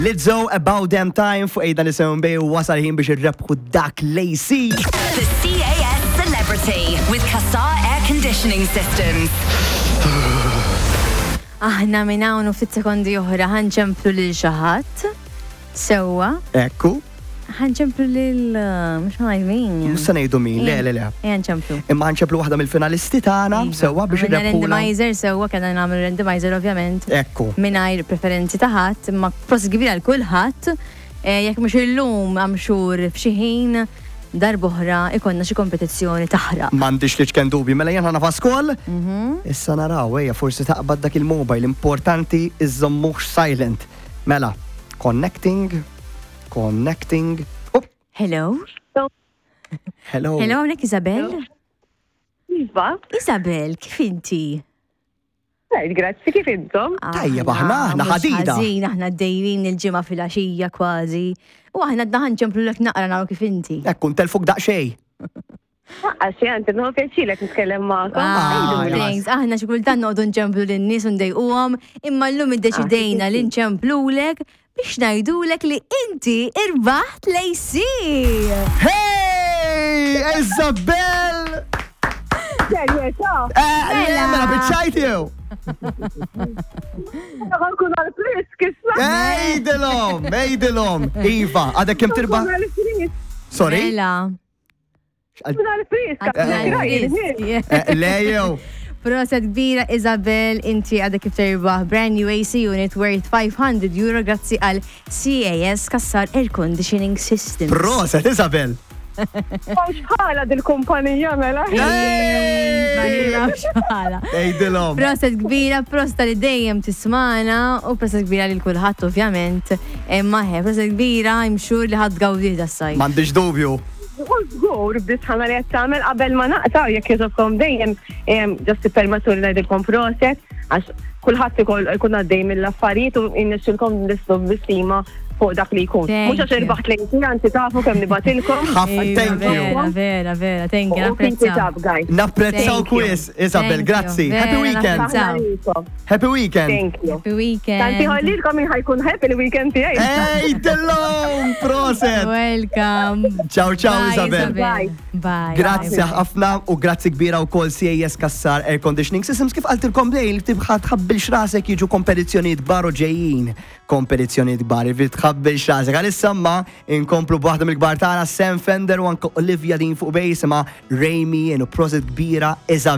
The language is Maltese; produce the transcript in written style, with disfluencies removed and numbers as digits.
Lizzo About Damn Time fuq Ejda Nisimgħu Nbejju wasal ħin biex irrebħu dak l-AC. The CAS Celebrity with Cassar Air Conditioning Systems. Aħna minn hawn u ftit sekondi oħra ħa nċemplu lil xi ħadd. Sewwa. Ekku. Ħa nċemplu lil mhux ħa ngħid min. Mhux se ngħidu min, le le le. Ejja nċemplu. Imma ħa nċemplu waħda mill-finalisti tagħna Iva. sewwa biex Għamilna irrebħula. randomizer sewwa kellna nagħmlu randomizer ovvjament. Ekku. Mingħajr preferenzi ta' ħadd, imma prosit kbira għal kulħadd. Eh, Jekk mhux illum I'm sure f'xi ħin darb'oħra ikollna xi kompetizzjoni taħraq. M'għandix li ċken dubju, mela jien ħa nafas kol. Mhm. Issa naraw, ejja forsi taqbad dak il-mobile, importanti iżżommux silent. Mela, connecting, connecting. Oh, Hello? hello. Hello, hawnhekk Isabel? Iva, Isabel, kif inti? Right, grazzi, kif intom? Tajjeb, aħna, aħna mhux ħadida. Ħażin, aħna dejrin il-ġimgħa fil-għaxija kważi. U aħna għadna ħanċemplulek naqra naraw kif inti. Ekku, ntelfuk daqsxejn. Għaxi, għanti, nħu pjaċilek nitkellem magħkom. Ah, Għiduli. thanks. Aħna xi kultant noqogħdu nċemplu lin-nies u ndejquhom, imma llum iddeċidejna li nċemplulek biex ngħidulek li inti irbaħt l-AC. Hey, Isabel! Serjetà? Eh, le, mela biċċajt jew. Għankun għal-frisk, issa. Ejdilhom, ejdilhom. Iva, għadek kemm tirbaħ. Għal-frisk, Sorry? Mela. għal-frisk, Għal-frisk. Eh, Le jew. Proset kbira Isabel, inti għadek kif terbaħ brand new AC unit worth 500 euro grazzi għal CAS Kassar Air Conditioning Systems. Proset, Isabel. Xħala dil-kumpanija mela. Ma nafx bħala. Ejdilhom. Proset kbira, prosta li dejjem tismana u proset kbira lil kulħadd ovvjament. Imma he, proset kbira, I'm sure li ħadd gawdi das-sajf. M'għandix dubju. U żgur b'disħana li qed tagħmel qabel ma naqta' jekk jogħġobkom dejjem ġast tippermettu li ngħidilkom proset għax kulħadd ikun għaddej mill-affarijiet u jinnexxilkom nislu b'stima fuq dak li jkun. Thank Mhux għax you. irbaħt lejn anzi tafu kemm nibatilkom. Ħafna, Iva, thank you. Vera, vera, vera, thank you, U keep it napprezzaw. up, guys. Napprezzaw Thank you. kwis, Isabel, Thank you. grazzi. Happy Vera, weekend. napprezzaw. Aħna lilkom. Happy weekend. Thank you. Happy weekend. Tanti ħollilkom min ħajkun happy il-weekend tiegħi. Ejdilhom, proset. Welcome. Ciao, ciao, Bye, Isabel. Bye. Bye. Grazzi ħafna u grazzi kbira u kol CAS Kassar Air Conditioning Systems kif qaltilkom lejl tibħa tħabbilx rasek jiġu kompetizzjonijiet kbar u ġejjin kompetizzjonijiet kbar jiġifieri tħabbilx rasek għalissa ma inkomplu b'waħda mill-kbar tagħna Sam Fender u anke Olivia Dean fuq bej jisimha Remy u prosit kbira Isabel.